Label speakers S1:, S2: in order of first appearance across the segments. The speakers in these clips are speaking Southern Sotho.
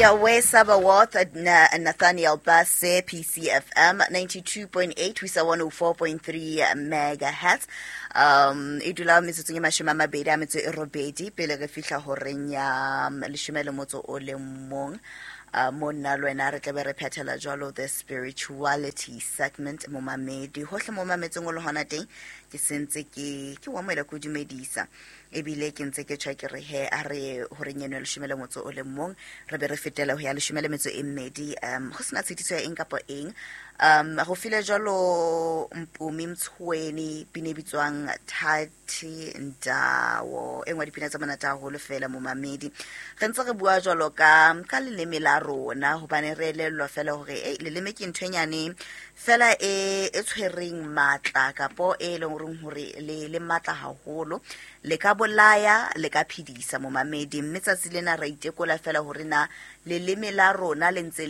S1: Yahweh Sabaoth, Nathaniel Basse, PCFM 92.8 ho isa 104.3 megahertz. E dula metsotsong e 28 pele re fihla horeng ya 11. Mo nna le wena re tlabe re phethela jwalo the spirituality segment. Momamedi hohle mo mametseng o le hona teng, ke sentse ke wa moela ke o dumedisa, ebile ke ntse ke tjha ke re he a re horeng eno ya 11 re be re fetela ho ya 12, go sena tshitiso ya eng kapa eng. Go file jwalo Mpumi Mtshweni, pina e bitswang Thathi Ndawo, e nngwe ya dipina tse monate haholo fela. Momamedi, re ntse re bua jwalo ka leleme la rona, hobane re elellwa fela hore ei, leleme ke ntho e nyane fela e tshwereng matla, kapo e leng horeng hore le matla haholo, le ka bolaya, le ka phedisa, momamedi. Mme tsatsi lena ra itekola fela hore na leleme la rona le ntse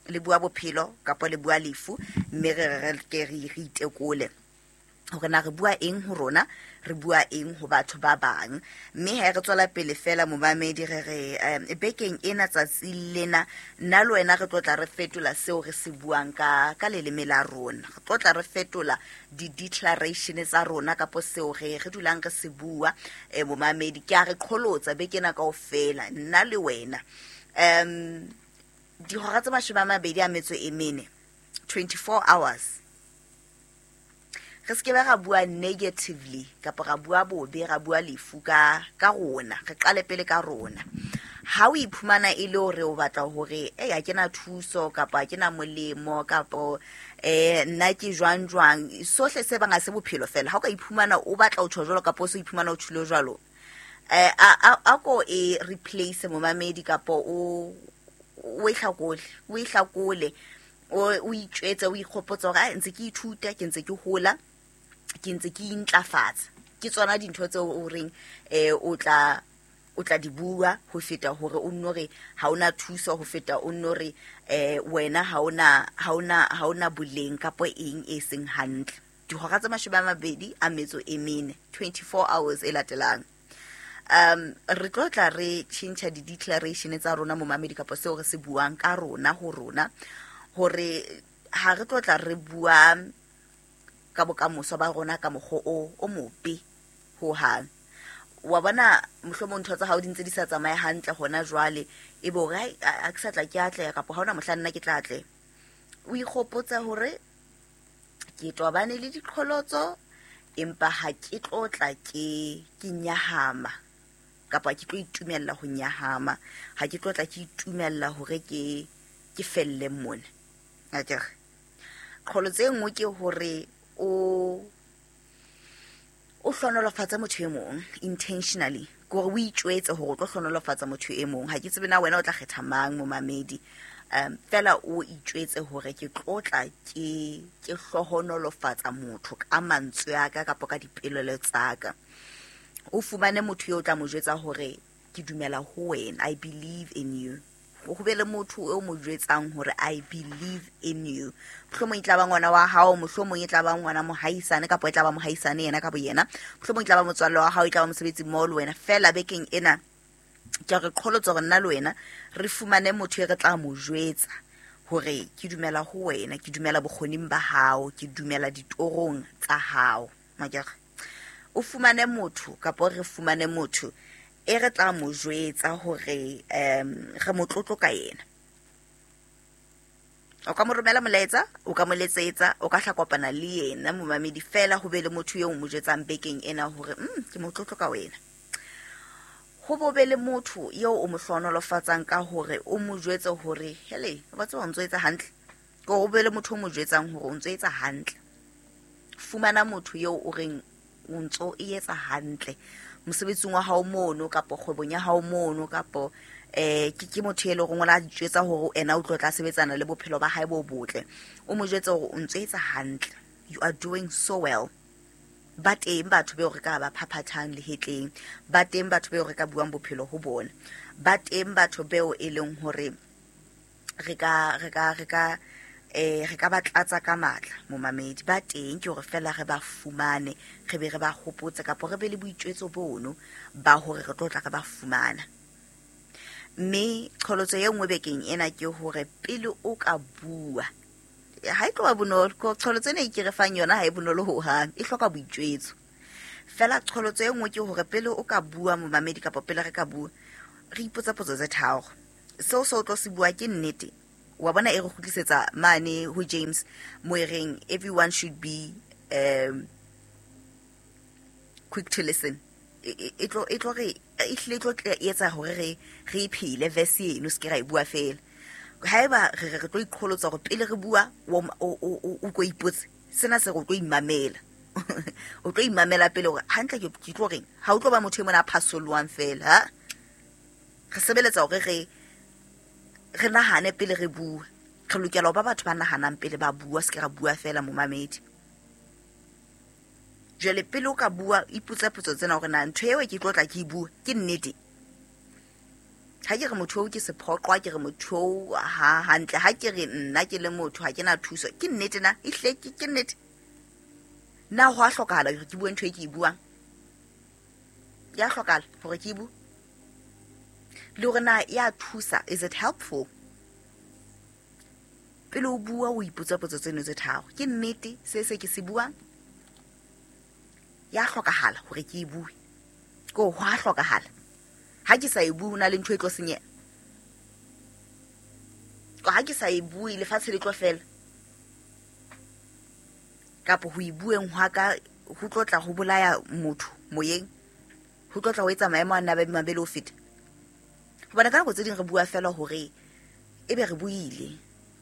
S1: le bua bophelo kapa le bua lefu, mme re ke re itekole hore na re bua eng ho rona, re bua eng ho batho ba bang. Mme ha re tswela pele fela, momamedi, re re bekeng ena, tsatsi lena, nna le wena re tlo tla re fetola seo re se buang ka leleme la rona. Re tlo tla re fetola di-declaration tsa rona kapo seo re dulang re se bua. Momamedi, ke a re qholotsa beke ena kaofela, nna le wena, dihora tse 24, 24 hours, re se ke be ra bua negatively kapa ra bua bobe, ra bua lefu ka rona. Re qale pele ka rona. Ha o iphumana e le hore o batla hore e ha ke na thuso kapa ha ke na molemo kapa nna ke jwang jwang, sohle se bang ha se bophelo fela. Ha o ka iphumana o batla ho tjho jwalo kapa o se iphumana o tjhilo jwalo, a ko e replace, momamedi, kapa o e hlakole, o e hlakole, o itjwetse, o ikgopotse hore ntse ke ithuta, ke ntse ke hola, ke ntse ke intlafatsa. Ke tsona dintho tseo o reng o tla di bua ho feta hore o nno re ha ona thuso, ho feta o nno re wena ha ona boleng kapo eng e seng hantle. Dihora tse 24, 24 hours e latelang, re tlo tla re tjhentjha di-declaration tsa rona, momamedi, kapa seo re se buang ka rona ho rona, hore ha re tlo tla re bua ka bokamoso ba rona ka mokgwa o mobe hohang. Wa bona, mohlomong ntho tsa hao di ntse di sa tsamaye hantle hona jwale, e be hore ha ke sa tla ke atleha kapa ha hona mohla nna ke tla atleha. O ikgopotsa hore ke tobane le diqholotso, empa ha ke tlo tla ke nyahama kapa ke tlo itumella ho nyahama, ha ke tlo tla ke itumella hore ke felle mona. Akere qholotso e nngwe ke hore o hlonolofatsa motho e mong intentionally, ke hore o itjwetse hore o tlo hlonolofatsa motho e mong. Ha ke tsebe na wena o tla kgetha mang, momamedi, fela o itjwetse hore ke tlotla ke hlohonolofatsa motho ka mantswe a ka kapa ka dipolelo tsa ka. O fumane motho eo o tla mo jwetsa hore ke dumela ho wena, I believe in you. Ho be le motho eo mo jwetsang hore I believe in you. Mohlomong e tla ba ngwana wa hao, mohlomong e tla ba ngwana mohaisane, kapa e tla ba mohaisane yena ka boyena, mohlomong e tla ba motswalle wa hao, e tla ba mosebetsi mmoho le wena. Fela bekeng ena ke re qholotsa hore nna le wena re fumane motho e re tla mo jwetsa hore ke dumela ho wena, ke dumela bokgoning ba hao, ke dumela ditorong tsa hao. Makere o fumane motho kapa re fumane motho e re tla mo jwetsa hore re motlotlo ka yena. O ka mo romela molaetsa, o ka mo letsetsa, o ka hla kopana le yena, momamedi. Fela ho be le motho eo mo jwetsang bekeng ena hore ke motlotlo ka wena. Ho bo be le motho eo o mo hlohonolofatsang ka hore o mo jwetse hore hele, wa tseba o ntso etsa hantle. Ke hore o be le motho o mo jwetsang hore o ntso etsa hantle. Fumana motho eo o reng o ntso e etsa hantle mosebetsing wa hao mono kapa kgwebong ya hao mono, kapa ke motho e leng hore o la jwetsa hore ena o tlo tla sebetsana le bophelo ba hae bo botle. O mo jwetse hore o ntso etsa hantle, you are doing so well. Ba teng batho beo re ka ba phaphathang lehetleng, ba teng batho beo re ka buang bophelo ho bona, ba teng batho beo e leng hore re ka ba tlatsa ka matla, momamedi. Ba teng, ke hore fela re ba fumane, re be re ba hopotse kapa re be le boitjwetso bono ba hore re tlo tla re ba fumana. Mme qholotso e nngwe bekeng ena ke hore pele o ka bua, ha e tloba bonolo, qholotso ena e ke re fang yona ha e bonolo hohang, e hloka boitjwetso. Fela qholotso e nngwe ke hore pele o ka bua momamedi kapa pele re ka bua, re ipotsa potso tse tharo. Seo se o tlo se bua ke nnete. Wa bona e re kgutlisetsa mane ho James mo e reng everyone should be quick to listen. E tlo re e hlile e tlo etsa hore re e phele verse eno, se ke ra e bua fela. Haeba re re tlo iqholotsa hore pele re bua o ko ipotse, sena se re o tlo imamela. O tlo imamela pele hore hantle ke tlo reng, ha o tlo ba motho e mona a phasolwang fela, ha re sebeletsa hore re nahane pele re bua. Re lokela ho ba batho ba nahanang pele ba bua, se ke ra bua fela momamedi. Jwale pele o ka bua, ipotse potso tsena hore na ntho eo ke tlo tla ke e bua ke nnete. Ha ke re motho oo ke sephoqwa, ke re motho oo ha hantle, ha ke re nna ke le motho ha ke na thuso, ke nnete na? Ehlile ke nnete. Na ho a hlokahala hore ke bue ntho e ke e buang? Ya hlokahala hore ke e bue? Le hore na ya thusa, is it helpful? Pele o bua o ipotsa potso tseno tse tharo. Ke nnete se se ke se buang? Ya hlokahala hore ke e bue? Ko ho a hlokahala. Ha ke sa e bue ho na le ntho e tlo senyeha. Ko ha ke sa e bue lefatshe le tlo fela. Kapa ho e bueng hwa ka ho tlo tla ho bolaya motho moyeng, ho tlo tla ho etsa maemo a nna ba mabele ho feta. Hobane ka nako tse ding re bua fela hore ebe re buile,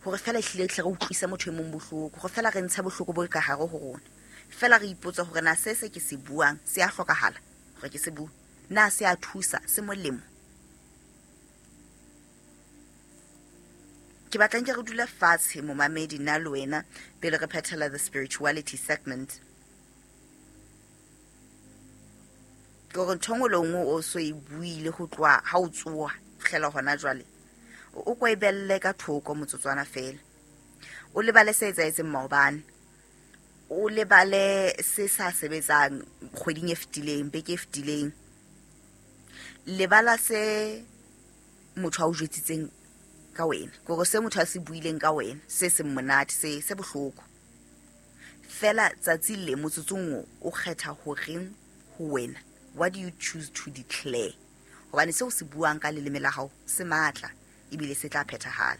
S1: hore fela ehlile hle re utlwisa motho e mong bohloko, hore fela re ntshe bohloko bo ka hare ho rona. Fela re ipotsa hore na se se ke se buang se a hlokahala hore ke se bue, na se a thusa, se molemo. Ke batla nke re dule fatshe momamedi nna le wena pele re phethela the spirituality segment. Ke hore ntho nngwe le nngwe o so e buile ho tloha ha o tsoha fihlela hona jwale, o ko e belle ka thoko motsotswana fela. O lebale se etsahetseng maobane, o lebale se sa sebetsang kgweding e fetileng, beke e fetileng. Lebala se motho a o jwetsitseng ka wena, kore se motho a se buileng ka wena se seng monate, se bohloko. Fela tsatsi le motsotsong o kgetha horeng ho wena, what do you choose to declare? Hobane seo se buang ka leleme la hao se matla ebile se tla phethahala.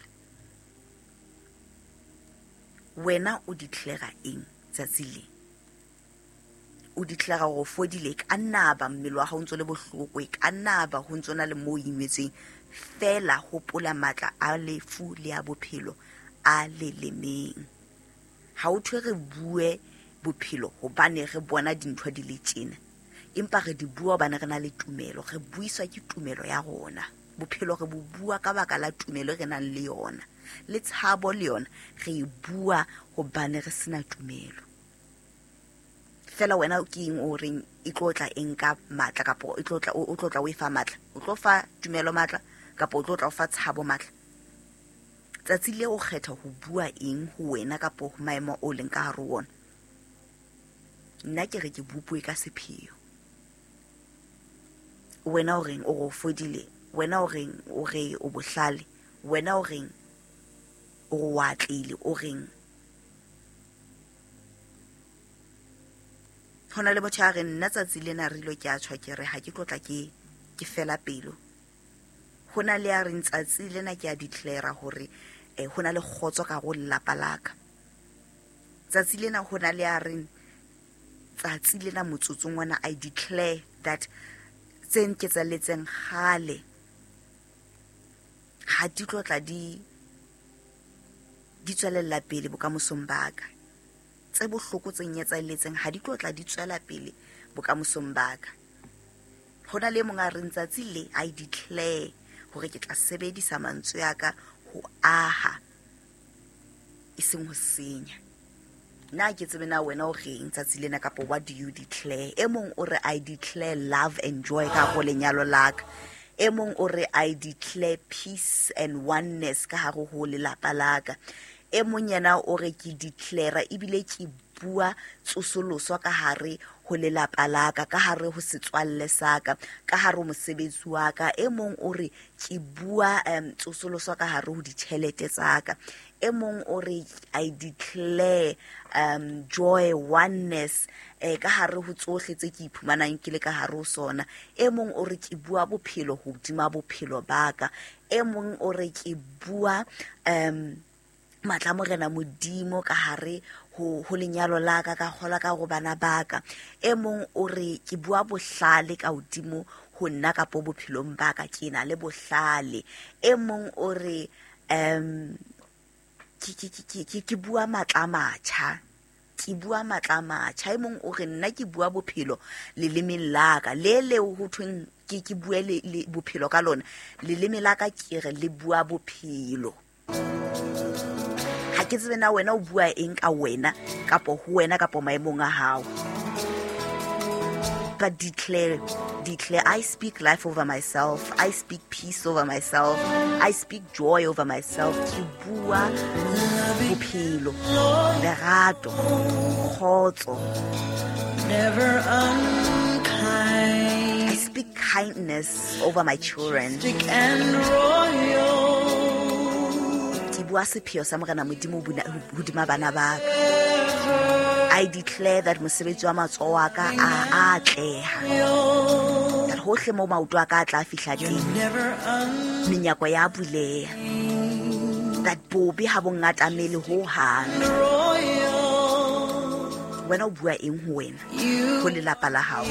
S1: Wena o declare eng tsatsi le? O declare hore o fodile, ka nna ba mmele wa hao o ntso le bohloko, e ka nna ba ho ntso na le moo o imetsweng. Fela hopola matla a lefu le a bophelo a lelemeng. Ha o thwe re bue bophelo hobane re bona dintho di le tjena, empa re di bua hobane re na le tumelo, re buiswa ke tumelo ya rona. Bophelo re bo bua ka baka la tumelo e re nang le yona, le tshabo le yona re e bua hobane re sena tumelo. Fela wena ke eng o reng e tlo tla e nka matla, kapa e tlo tla, o tlo tla o e fa matla? O tlo fa tumelo matla, kapa o tlo tla o fa tshabo matla? Tsatsi le o kgetha ho bua eng ho wena kapa ho maemo o leng ka hare ho ona? Nna ke re ke bopue ka sepheo. Wena o reng o re o fodile? Wena o reng o re o bohlale? Wena o reng o re o atlehile? O reng? Ho na le motho a reng nna tsatsi lena re ilo ke a tjho ke re ha ke tlo tla ke fela pelo. Ho na le a reng tsatsi lena ke a declare hore ho na le kgotso ka ho lelapa la ka. Tsatsi lena ho na le a reng tsatsi lena motsotsong ona I declare that tse nketsalletseng kgale ha di tlo tla di tswelella pele bokamosong ba ka. Tse bohloko tse nketsalletseng ha di tlo tla di tswela pele bokamosong ba ka. Ho na le mong a reng tsatsi le I declare hore ke tla sebedisa mantswe a ka ho aha e seng ho senya. Nna ke tsebe na wena o reng tsatsi lena, kapa what do you declare? E mong o re I declare love and joy ka hare ho lenyalo la ka. E mong o re I declare peace and oneness ka hare ho lelapa la ka. E mong yena o re ke declare ebile ke bua tsosoloso ka hare ho lelapa la ka, ka hare ho setswalle sa ka, ka hare ho mosebetsi wa ka. E mong o re ke bua tsosoloso ka hare ho ditjhelete tsa ka. E mong o re I declare joy, oneness, ka hare ho tsohle tse ke iphumanang ke le ka hare ho sona. E mong o re ke bua bophelo hodima bophelo ba ka. E mong o re ke bua matla Morena Modimo ka hare ho lenyalo la ka, ka kgola ka go bana ba ka. E mong o re ke bua bohlale ka hodimo ho nna kapo bophelong ba ka, ke na le bohlale. E mong o re ke bua matla a matjha, ke bua matla a matjha. E mong o re nna ke bua bophelo lelemeng la ka, le leo ho thweng ke bue le bophelo ka lona, leleme la ka ke re le bua bophelo. Ha ke tsebe na wena o bua eng ka wena kapo ho wena kapo maemong a hao. But declare, I speak life over myself, I speak peace over myself, I speak joy over myself. Ke bua bophelo, lerato, kgotso.
S2: Never unkind.
S1: I speak kindness over my children.
S2: And royal.
S1: Ke bua sepheo sa Morena Modimo hodima bana ba ka. I declare that mosebetsi wa matsoho a ka a atleha. That hohle moo maoto a ka a tla fihla teng, menyako ya buleha. That bobe ha bo ngatamele ho hang. Wena o bua eng ho wena, ho lelapa la hao?